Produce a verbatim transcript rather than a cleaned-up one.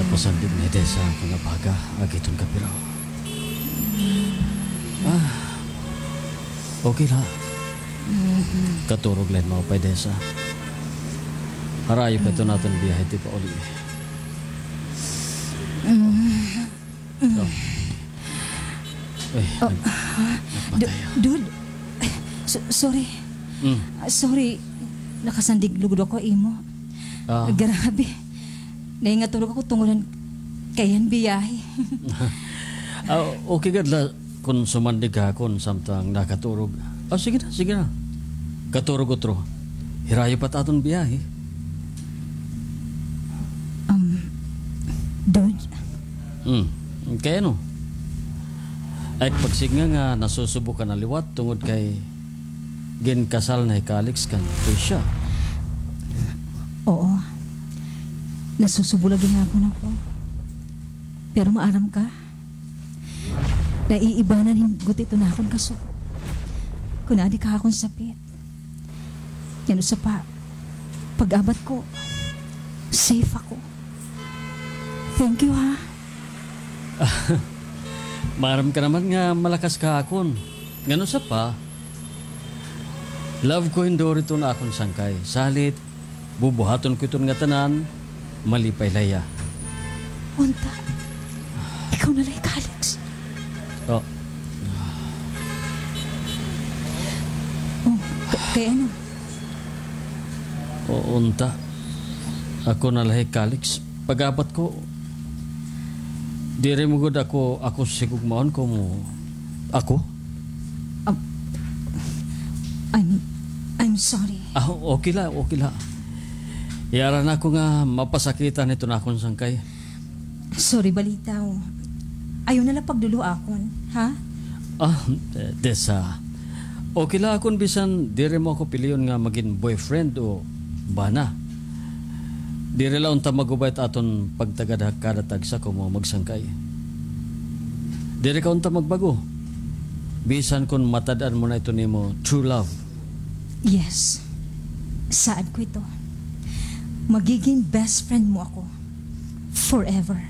Masandig na hi Desa, mga baga, agi iton kapiraw. Ah, okay la. Katurog la hin maupay, Desa. Harayo pa iton aton biyahe, di ba, uli? Oh. Ay, nag-, nagpatay ako. Dude, so-, sorry. Mm. Ah, sorry. Nakasandig lugod ako ha imo. Ah. Grabe. Nahingaturog ako tungod han kay-an biyahe. Ah, okay gad la kon sumandig ka ha akon samtang nakaturog. Ah, sige na, sige na. Katurog utro. Hirayo pa it aton biyahe. Um, Dod. Hmm. Kay ano? Ay, pagsidnga nga nasusubo ka na liwat tungod kay ginkasal na hi Calix kan Tricia. Oo. Nasusubo la gihapon ako. Pero maaram ka, naiibanan hin gutiton akon kasubo. Kon adi ka ha akon sapit. Ngan usa pa, pag-abat ko, safe ako. Thank you, ha? Maaram ka naman nga malakas ka ha akon. Ngan usa pa, love ko hin duro iton akon sangkay. Salit, bubuhaton ko iton ngatanan, malipay la hiya. Unta, ikaw na la hi Calix. Oh. Oh, k-, kay ano? O, unta. Ako na la hi Calix. Pag-abat ko, diri mo gud ako, ako sigugmaon komo ako? Um, I'm, I'm sorry. Ah, okay la, okay la. Yara na ako nga mapasakitan iton akon sangkay. Sorry, Balitaw. Ayaw na la pagdulo akon, ha? Ah, Desa. Okay la akon bisan diri mo ako pilion nga magin boyfriend o bana. Diri la unta maguba it aton pagtagad ha kada tagsa komo magsangkay. Diri ka unta magbago. Bisan kon matad-an mo na iton imo true love. Yes. Saad ko ito. Magiging best friend mo ako. Forever.